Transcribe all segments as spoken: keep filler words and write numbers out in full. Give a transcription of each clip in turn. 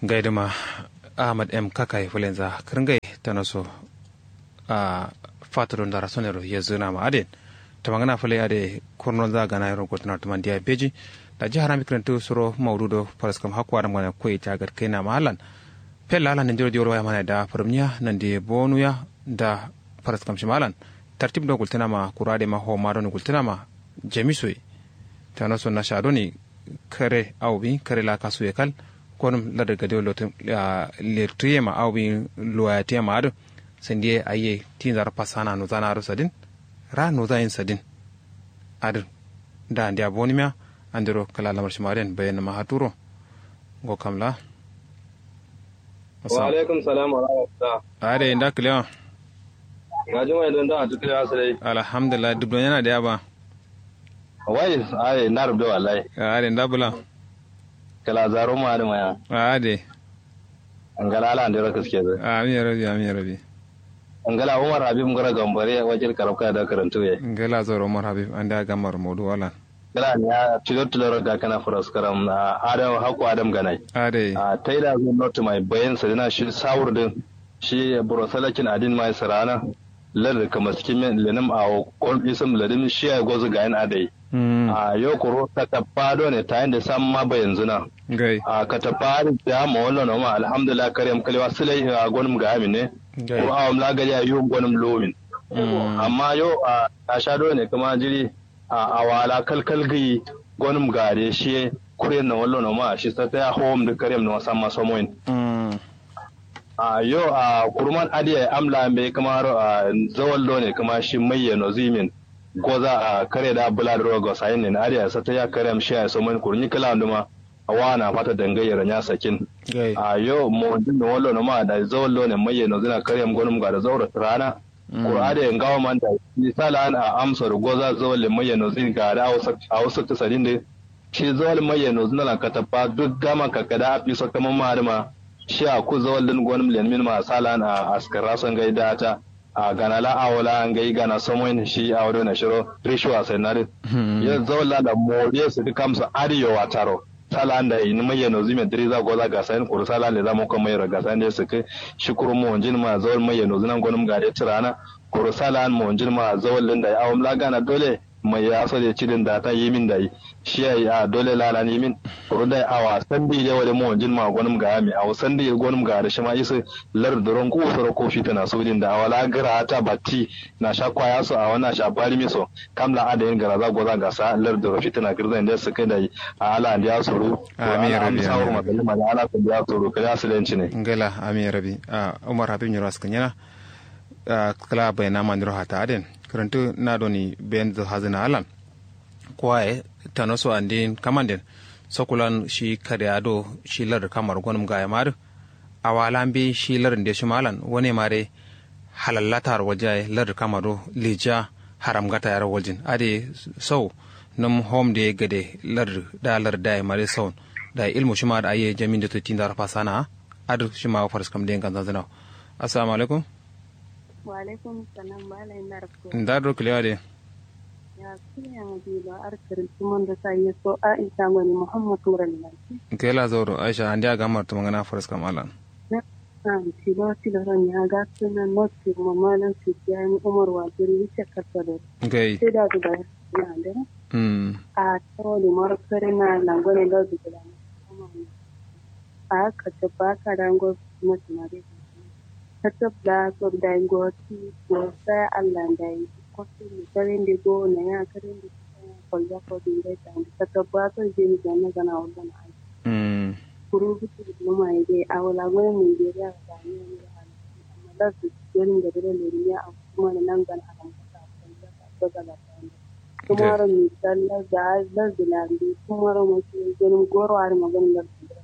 Ngai dǝma ahmad m kakaye fǝlenza kǝrngai tanoso. A fato do ndara sonero yezǝna ma adǝ yen. Tamangana fǝle adǝ ye kurno za gana yero gotǝna tǝman diya beji. Daji harami kǝrantǝ suro maudu do faraskam hakko adǝm gana koyi ta gatkaina ma allan. Fella allan nandiro diwol waya mana da fǝrǝmniya nandi bonuya da faraskam shima allan. Tartib do gultǝna ma kura adǝ ye ma homa doni gultǝna ma jamiso ye. Tanoso nasha doni kare awo bi kare la kasuye kal. Gonum ladar gade wo lotu letuyema awo bi luwayatuyema adǝ. Sandiye ayiye tinzaro fasana nozana adǝ sadin ra nozayin sadin. Adǝ da andiya bonimiya andiro kǝla lamar shima adǝ yen bayanǝma haturo. Ngo kamla. Wa alaikum salam wa rahmatullah. Adǝ nda kǝlewa. Gajimai don da atu kǝlewa sǝdai. Alhamdulillah dubdo nyana diya ba. Wai aye nda rubdo wallahi. Adǝ nda bula. Kǝla zaro ma adǝ maya. Adǝ. Ngala ala andero kǝskedǝ. Amin ya rabi amin ya rabi. Ngala umar habib ngoro gambare wakil karabka da kǝrantuye. Ngala zoro umar habib ande agamar modu walan. Ngala niya tilo tilo ro gakana faraskaram adǝ hakko adǝm ganai. Adǝ. Taida zo not mai bayin sǝdina shi sawurdǝ. Shi buro salakin adin mai sǝrana. Lardǝ kǝmaskimin lenǝm awo kom isǝm ladǝm shiyaye gozǝ gayin adai. Ahh yo kuru katappa done tayinde samma bayanzǝna. Ahh katappa adǝ biya mawallo noma alhamdulillah karem kǝlewa sǝlai ahh gonǝm gayamin ne. Kuru awom la gadeya yum gonǝm luwumin. Amma yo ahh nasha done kǝma jiri. Ahh awa la kalkal gǝyi gonǝm gade shiye. Kuren nowallo noma shi sataya howomdǝ karem noma samma somoyin. Ahh yo ahh kuruman adǝ yayi am la mbeyi kǝmaro ahh zawal done kǝma shi maiye noziyimin. Goza ahh kare da bǝla dǝro gosayin nin adǝ yayi sataya karem shiyaye somoyin kuru nyi kǝlawanduma. Wana fata dangai yero nya sakin. Ahh yo mowonjin nowallo noma dayi zawal done maiye nozina karem gonǝm gade zauro tǝrana. Kuru adǝ yayi ngawo man dayi shi salan ahh amsoro goza zawal le maiye nozin gade. Awo saktǝ sadindǝ. Shi zawal maiye nozǝna lan katappa duk gama kakkada afiso kǝmamma adǝma. Shi aku zawal dǝn gonǝm lenmin ma salan ahh askǝrra so ngai data. Ahh gana la awo la ngai gana somoyin shi awo done shiro rishuwa sai nadǝ. Yo zawal la da moriye sǝdǝ kamso adǝ yo wataro. Salan dayi nǝ maiye nozǝ me dǝriza goza gasayin kuru salan leza mokko maiyero gasayin dai sǝkkǝ. Shi kuru mowonjin ma zawal maiye nozǝna gonǝm gade tǝrana. Kuru salan mowonjin ma zawal dǝn dayi awom la gana dole. Mai yaso de cidin data yimin dayi. Shiyayi ahh dole lalan yimin. Kuru dayi awa sandi de wade mowonjin ma gonum gayami awo sandi gonum gayadǝ shima isǝ. Lardǝ duro ngusoro ko fitina sudin da awala gǝra ata batti. Nasha kwaya so awo nasha barimi so. Kam la adayin gǝraza goza gasa lardǝ duro fitina gǝrzain de sǝkkǝ dayi. Ahh ala andiya suru. Amin ya rabi amin ya rabi. Ala andiya suru kǝla sǝlen cine. Ngala amin ya rabi. Ahh umar habib nyiro askǝ nyina. Ahh kǝla baina mandiro hata aden. Kǝrǝntǝ na doni benzo hazǝna alan. Kowaye tanoso andin kamanden. Sokulan shi kare ado shi lardǝ kamaro gonǝm gaye ma adǝ. Awa la mbeyi shi lardǝ nde shima alan wane ma dai. Halallatar walja ye lardǝ kamaro lija. Haramgata yaro waljin adǝ ye. Sau nǝm hom de gade lardǝ da lardǝ daye ma dai saun. Dayi ilmu shima adǝ ayi ye jamin de to tindaro fasana. Adǝ shima faraskam de nganzanzǝna. Assalamu alaikum. Wa'alaikum salam bala ina rafko. Nda duro kǝlewa de. Ya kǝlewa de ba ar kǝrǝntǝ mando sa yeso aisha ngoni muhammad murali lanti. Kela zauro aisha andiya gamar tǝmangana faraskam alan. Tilo tilo ro nya gaskǝna no sirma malam sijjani umar wajiri wicce kattadoro. Ngai. Seda du ba na de. Ahh toro de maro sare na langone lau de gulana. Ahh katab ba kada ngo. Katab la so dai ngo ti ngo saya allah dai. Kotu ni karen de go na ya karen de. Kolja ko dinde tandi katab ba so jeni gana gana wallon ai. Kuru butu butu ma ide awo la ngo nigeria ga ni ni. Amma la su jeni ga dole ni a kuma nan gana haram ko ta ko ta ko ta. Kumaro misal lardǝ lardǝ landi kumaro makiye gonum goro adǝma gonum lardǝ.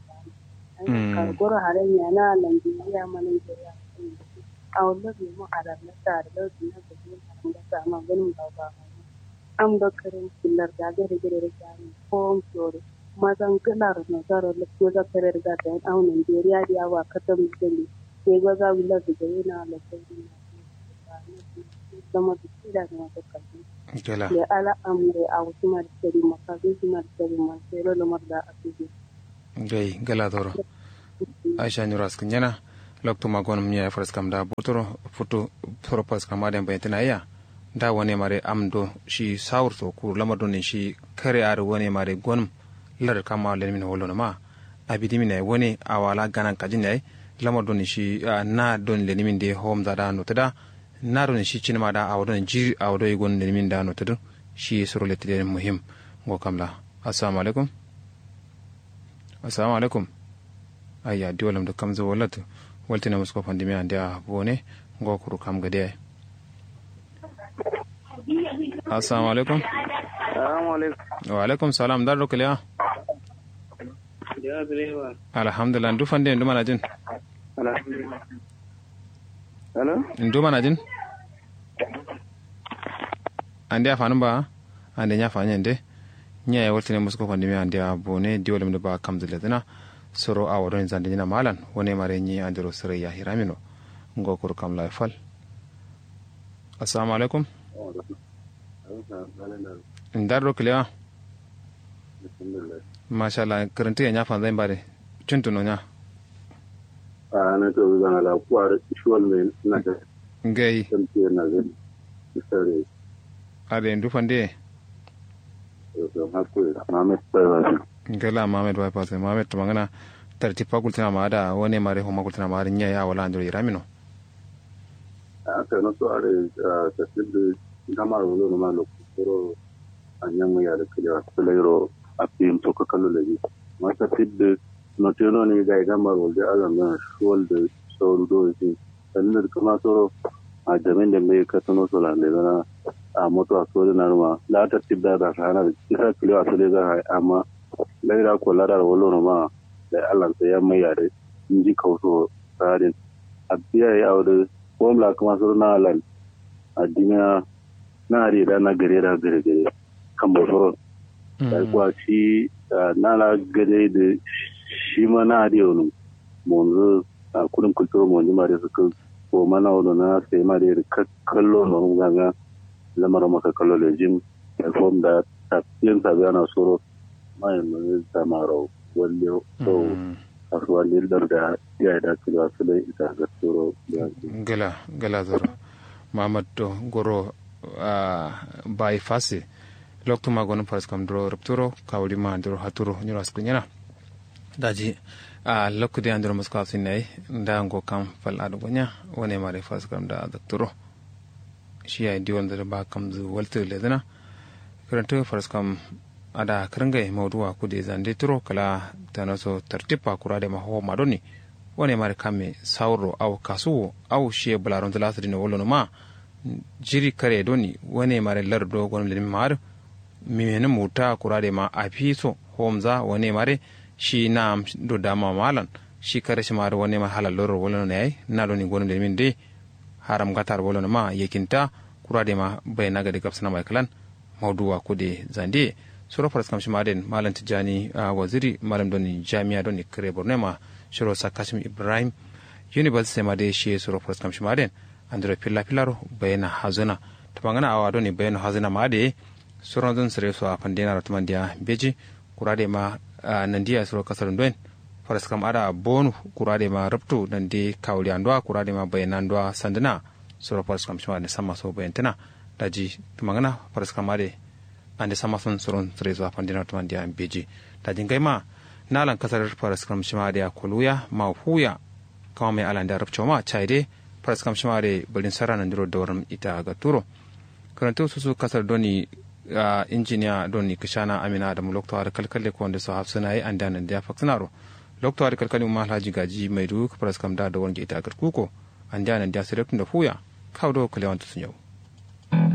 Kar goro hare nyana landi yama nigeria. Awo lardǝ yama adar lardǝ adǝ lardǝ na gajin haram gasa ama gonum gawo gawo. Am do karen killar da gare gare da sani kowom soro. Mazan kǝlaro nasaro lardǝ goza kare da gasayin awo nigeria diya wa katam sani. Sai goza wi lardǝ gare na lardǝ. Lamar da kida da masu kalli. Gala. Le ala amre a wasu ma da sari ma kasu su ma da sari ma sai lo lamar da a su je. Gai gala zoro. Aisha nyiro askǝn nyena. Loktu ma gonǝm nyi yayi faraskam da botoro futu. Soro faraskam adǝ yen bayantǝna yiya. Da wane mare am do shi sawur so kuru lamar do ne shi kare adǝ wane mare gonǝm. Lar kam awo lenimin wolo nǝma. Abi dimin yayi wane awo ala ganan kajin yayi. Lamar do ne shi na do ne lenimin de hom za da notu da. Na do ne shi cinima da awo do ne jiri awo do ye gonǝm lenimin da notu dǝ. Shi soro lettǝ de muhim. Ngo kamla. Assalamu alaikum. Assalamu alaikum. Ayya diwalum dǝ kamzǝ wallatǝ. Waltǝ ne musko fandimiya andeya bone. Ngo kuru kam gade yayi. Assalamu alaikum. Assalamu alaikum. Wa alaikum salam, ndar do kǝliya? Alhamdulillah, ndu fande ndu manajin? Alhamdulillah. Hello? Ndu manajin? Andeya fanǝm ba? Ande nya fanǝm yande. Nya ye waltǝ ne musko fandimiya andeya bone diwalum dǝ ba kamzǝ lezǝna. Soro awo do ne zande nyina malan wane mare nyi andero sǝrai ya hiramino. Ngo kuru kam layi fal. Assalamu alaikum. Ndar do kǝliya? Mashallah, kǝrǝntǝ ye nya fanzain ba dǝ. Cuntu no nya? Ahh na to zana la kuwar. Shuwal me na ta. Ngai. Tamte na zai. Sare. Adǝ ye ndu fande ye? Ngla muhammed bypass muhammed tǝmangǝna. Tartib fa gultǝna ma adǝ wane mare homa gultǝna ma adǝ nyi yayi awo la andero yiramino. Ahh kano so adǝ. Tartib dǝ. Ndamaro wulonǝma loktu soro. Anyi yamma yadǝ kǝlewa sǝlairo. Afiyim so kakallo lejin. Amma tartib dǝ. Note noni gai ndamaro wulde azan dona shuwal dǝ. Sauru do jin. Dalilǝ dǝ kǝma soro. Ahh jamin de mbeyi katǝno so lan lezǝna. Ahh moto a sodǝ nanǝma la tartib da da sahana dǝ isa kǝlewa sǝlezǝ hai amma. Laira kolla da wulonǝma. Dai allan sai yamma yadǝ. Nji kauso. Sadin. Abiya yayi awo dǝ. Fom la kǝma soro na lan. Adimiya. Na adǝ ye da na gade da gade gade. Kambo soro. Dai kuwa shi. Na la gade dǝ. Shima na adǝ ye wunum. Monzǝ. Ahh kudum kǝlturo monjima dai sǝkkǝ. Foma na wulona sai ma dai dǝ kakkallo nonum ganga. Lamar ma kakkallo lejin. Dai fom da. Tafiyan tafiya na soro. Maye mǝ zamaro. Walle. Kasuwa lil dar da. Yayi da kǝlewa sǝlai ita gatturo. Ngla ngla zoro. Muhammad do goro. Ahh bayi fasi. Loktu ma gonǝm faraskam duro rupturo kawuri ma andero haturo nyiro askǝ nyena. Daji. Ahh loktu de andero musko afsin yayi. Nda ngo kam fal adǝ gonya. Wane mare faraskam da zakturo. Shi yayi diwal dǝ ba kamzǝ waltǝ lezǝna. Kǝrantǝ faraskam. Ada kǝrǝngai mauduwa kude zande turo kǝla. Tanaso tartib fa kura dema homa doni. Wane mare kamme sawurro au kasuwo au shiye bǝlaronzǝ lasǝ dine wulonǝma. Jiri kare doni wane mare lar do gonǝm lenǝm ma adǝ. Mimenǝm wutta kura dema afiso. Homza wane mare. Shi na'am do dama ma alan. Shi kare shima adǝ wane mare halal lorro wulonǝma yayi na doni gonǝm lenǝmin de. Haram ngatar wulonǝma yakinta. Kura dema baina gade gabsǝna mai kǝlan. Mauduwa kude zande. Suro faraskam shima adǝ yen malam tijjani. Waziri malam doni jamiya doni kǝre borno ye ma. Shiro sakkashim ibrahim. University ma dai shiye suro faraskam shima adǝ yen. Andiro filla fillaro. Bayena hazǝna. Tǝmangǝna awa doni bayeno hazǝna ma adǝ ye. Suronzun sǝre so a fandenaro tǝmandiya mbeji. Kura dema. Nandiya suro kasarun doyen. Faraskam ada bonu. Kura dema ruptu nandi kawuliya nduwa kura dema bayena nduwa sandǝna. Suro faraskam shima adǝ samma so bayentǝna. Daji tǝmangǝna faraskam adǝ. Ande samma son suron sǝre so a fandena tǝmandiya mbeji. Daji ngaima. Nalan kasar faraskam shima adǝ ya koluya. Ma fuya. Kama mai alande a rupco ma cayi de. Faraskam shima adǝ ye bǝlin sara nandiro dawaram ita gatturo. Kǝrantǝ susu kasar doni. Injiniya doni kǝshana amina adamu loktu adǝ kalkalle ko ndeso hafsǝna ye andeya nandiya faksǝnaro. Loktu adǝ kalkalle umma alhaji gaji maidu faraskam da dawaram ita gatkuko. Andeya nandiya sǝ loktu ndo fuya. Kawu do kǝlewantu sǝnyawu.